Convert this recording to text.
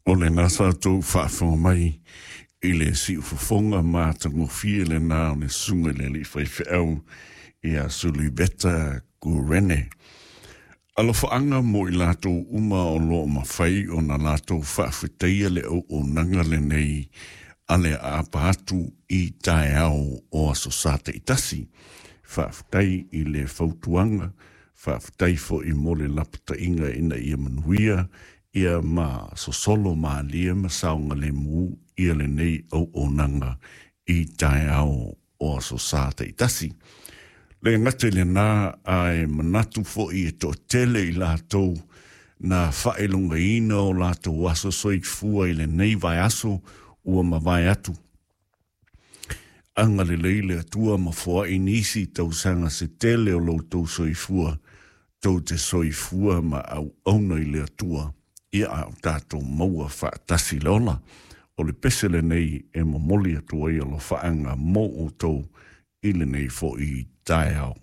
O lena sa outou faafofoga mai i le siufofoga matagofie lena o le susuga i le alii faifeau ia Suliveta Kurene. Alofaaga mo i latou uma o lo o mafai ona latou faafetaia le auaunaga lenei a le aapa atu i taeao o Aso Sa taitasi. Faafetai i le fautuaga, faafetai foi mo le lapataiga ina ia manuia ia ma sosolo malie ma saogalemu ia lenei auaunaga i taeao o Aso Sa taitasi. Le gata i lena, ae manatu foi e toatele i latou na faailogaina o latou aso soifua i lenei vaiaso ua mavae atu. Agalelei le Atua ma foai nisi tausaga se tele o lo outou soifua, tou te soifua ma auauna i le Atua, ia a o tatou maua faatasi le ola. O le pese lenei e momoli atu ai alofaaga mo outou i lenei foi taeao.